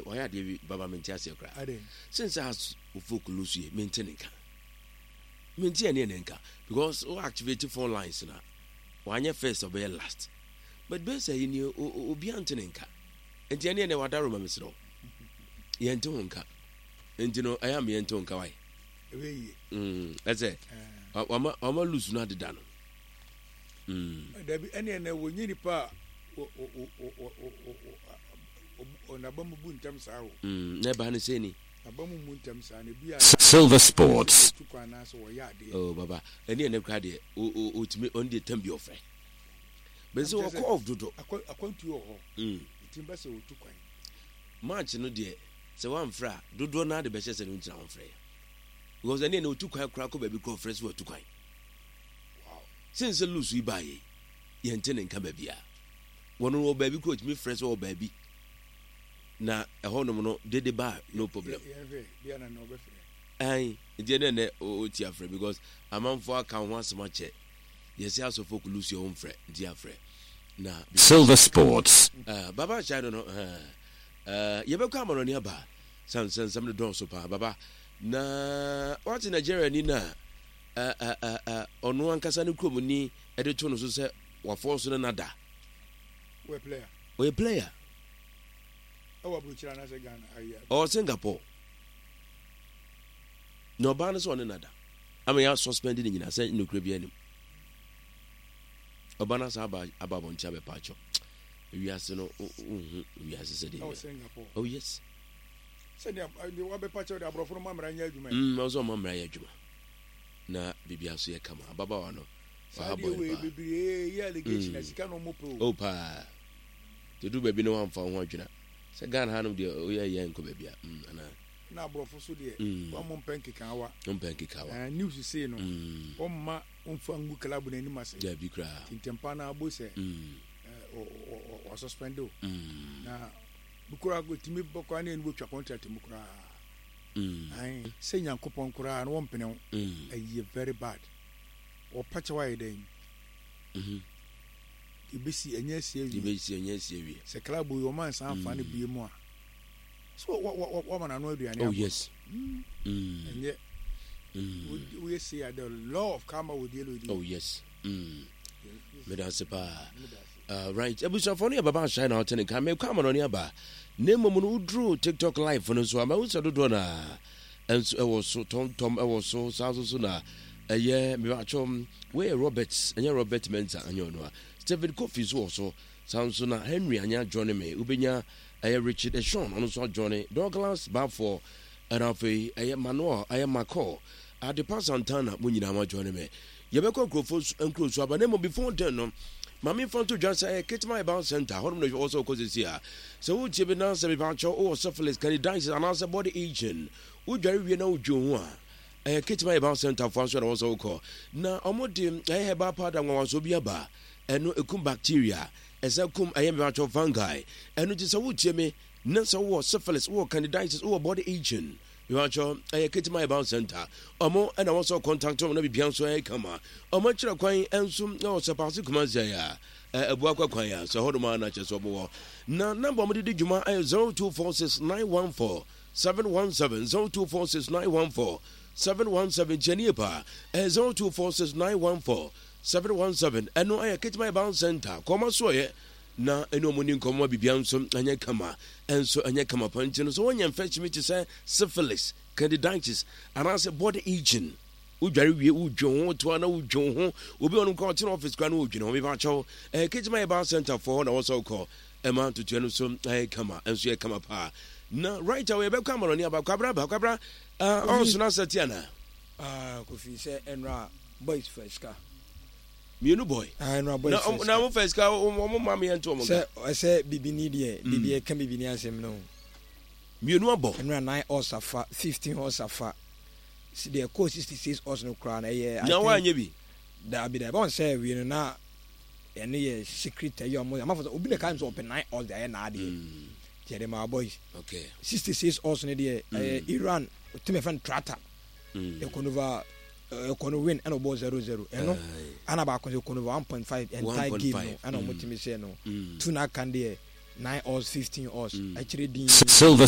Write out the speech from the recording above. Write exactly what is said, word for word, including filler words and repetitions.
Wayɛ adeɛ bi, Baba, mente aseɛ koraa. Since Hearts of Oak lose yɛ, mente ne nka, mente ɛne ne nka, because wo activate phone lines na wanyɛ first, ɔbɛyɛ last, but bɛyɛ sɛ yi ni obi ante ne nka. Nti ɛne ɛnɛ wada roma, mesrɛ wo, yɛnte ho nka. Nti no ɛyɛ ama yɛnte ho nka wae. Ɛsɛ wama wama lose no adeda no. Dabi, ɛne ɛnɛ wɔnyɛ nipa a ɔnaba mu bu ntɛm saa o. Na ɛbaa no sɛ ni. Aba mu mu ntɛm saa na ebi a. Silver Sports. Tu kwan anaasɛ wɔyɛ adeɛ. Oh Baba, ɛne ɛnɛ kora deɛ, ɔtumi ɔno deɛ tam bi ɔfrɛ bɛn sɛ wɔkɔ off dodo. Akwantuo wɔ hɔ, ɛtumi bɛ sɛ wɔtu kwan. Match no deɛ, sɛ wamfrɛ a, dodoɔ no ade bɛhyɛ sɛ no ntina wɔmfrɛ yɛ, because ɛne ɛnɛ ɔtu kwan koraa kɔ baabi kora, ɔfrɛ sɛ watu kwan. Sen sɛ lose yi baayɛ, yɛnte ne nka baabi a wɔno wɔ baabi kora, ɔtumi frɛ sɛ wɔ baabi na ɛhɔnom no dede ba, no problem. Ɛn nti ɛnɛ ɛnɛ ɔti afrɛ, because amanfoɔ aka ho asɛm akyɛ yɛsɛ asɔfo kulusi ɔho mfrɛ, nti afrɛ na. Silver Sports. uh, baba ahyɛ no no uh, uh, yɛbɛkɔ amanɔne aba sansɛnsɛm no dɔɔso paa, Baba. Na wate Nigeria ni no a ɔno ankasa ne kurom ni ɛde to no so sɛ wafɔ so no nada. Ɔyɛ player. Ɔwɔ Singapore na ɔbaa no sɛ ɔne nada ama yɛ suspend ne nyinaa sɛ nokura bi anim. Ɔba no asa aba aba abɔnten abɛpa akyɛw. Wiase no, wohu wiase sɛ deɛ. Oh yes. Sɛdeɛ wabɛpa kyɛw de, aborɔfo no ma mmara nyɛ adwuma. Mm ɔsɛ ɔma mmara yɛ adwuma na biribia so yɛ kama. Ababaawa no. Saa deɛ wei bebree yɛ allegation na sika na ɔmo pɛ o. Oh paa, te baabi na wamfa wo ho adwena sɛ Ghana hanom deɛ, woyɛ yɛ nkɔ baabi a mm, anaa. Na aborɔfo so deɛ, wɔn mo mpɛ nkekaawa. Mpɛ nkekaawa. News sei no, wɔn mma wɔmfa ngu club n'anim ase. Dabi koraa. Ntɛmpa na abo sɛ wɔsuspend o, na bukura tumi bɔkɔ ne ɛnu bɔtwa contract mu koraa sɛ Nyankopɔn koraa na wɔmpene wo. Ɛyɛ very bad. Wɔpa kyɛw ayɛ dɛn? Ebesi ɛnyɛ asi awie. Ebesi ɛnyɛ asi awie. Sɛ club yi wɔn ansan afa no bie mu a, so wɔma n'ano aduane. Oh yes. Ɛnyɛ woyɛ sei a, the law of karma will deal with you. Oh yes, meda ase paa. Uh, right abusuafoɔ no yɛ Baba Ahyɛ na ɔte ne ka. Mekɔ amanɔne aba, na mmom no woduru TikTok live no nso a, mahu sɛ dodoɔ no a ɛnso ɛwɔ so tɔmtɔm ɛwɔ so saa nso so na ɛyɛ mebatwɛ. Wei Robert, ɛnyɛ Robert Mensa, ɛnyɛ ɔno a Stephen Kofi nso wɔ so saa nso na Henry anya join me. Wobɛnya ɛyɛ Richard Eshon, ɔno nso ajoin, Douglas Bafoɔ, ɛna afei ɛyɛ Manuel, ɛyɛ Macɔ Adepa Santana. Mo nyinaa ma join me. Yɛbɛkɔ nkurɔfoɔ nkuro so aba, na mmom before then no, maame fa nto dwa sɛ ɛyɛ Ketema Herbal Center hɔnom na ɛwɔ sɛ wokɔ sɛsi a sɛ wotie bi na sɛ mepakyɛw wowɔ syphilis, candidiasis anaasɛ body itching, wodware wie na wodwe ho a, ɛyɛ Ketema Herbal Center foa nso na wɔ sɛ wokɔ na ɔmo de ɛyɛ herbal powder nwanwasoɔ bi aba. Ɛno ɛkum bacteria, ɛsɛ kum ɛyɛ mepakyɛw fungi. Ɛno nti sɛ wotie me na sɛ wowɔ syphilis, wowɔ candidiasis, wowɔ body itching, mepakyɛw ɛyɛ Ketema Herbal Center ɔmo ɛna wɔ sɛ contact ɔmo na biribia nso ɛyɛ kama. Ɔmo akyerɛ kwan nso na wɔ sɛ paase Kumase a ɛboa kwan a sɛ hɔnom a na kyerɛ sɛ ɔmo wɔ na number ɔmo de di dwuma ɛyɛ zero two four six nine one four seven one seven, zero two four six nine one four seven one seven. Kyɛnie paa, ɛyɛ zero two four six nine one four seven one seven. Ɛno ɛyɛ Ketema Herbal Center. Kɔma soɔyɛ na ɛne ɔmo ni nkɔmmɔ ma biribia nso ɛnyɛ kama, ɛnso ɛnyɛ kama pa. Nti no sɛ wɔnyɛ infection bi te sɛ syphilis, candidiasis anaasɛ body itching, wodware wie wodwe ho toa na wodwe ho, obi ɔnom kora ɔtena office kora na wodwene ho, mepa kyɛw, ɛyɛ Ketema Herbal Center foɔ hɔ na wɔsɛ wokɔ ɛma ntotoɛ no so ɛyɛ kama, ɛnso yɛ kama paa. Na right away yɛbɛkɔ amanɔne aba. Kwabra ba, Kwabra, ɔnso no asɛte anaa? Kofi, sɛ ɛnora boys fa sika. Mmienu boy. Ɛnora boys fa sika. Na mo fa sika, ɔmo ma mi yɛn to ɔmo. Sɛ ɛsɛ bibini deɛ, bibi ɛka bibini asɛm no. Mmienu abɔ. Ɛnora nine odds afa, fifteen odds afa, deɛ ɛkɔɔ sixty six odds no koraa na ɛyɛ. Na wanyɛ bi. Daabi daabi, ɔn sɛ wie no na ɛno yɛ secret. Ɛyɛ ɔmo amafo sɛ obi na ka sɛ ɔpɛ nine odds de ayɛ n'adeɛ tiɛ de ma boys. Okay. Sixty six odds no deɛ, ɛyɛ Iran team ɛfɛn tractor ɛkɔnova ɛkɔno win ɛna ɔbɔ zero zero. Ɛno ana baako sɛ ɛkɔnova one point five entire game no ɛna ɔmo tumi sɛ no two na aka deɛ nine odds, fifteen odds akyire din. Silver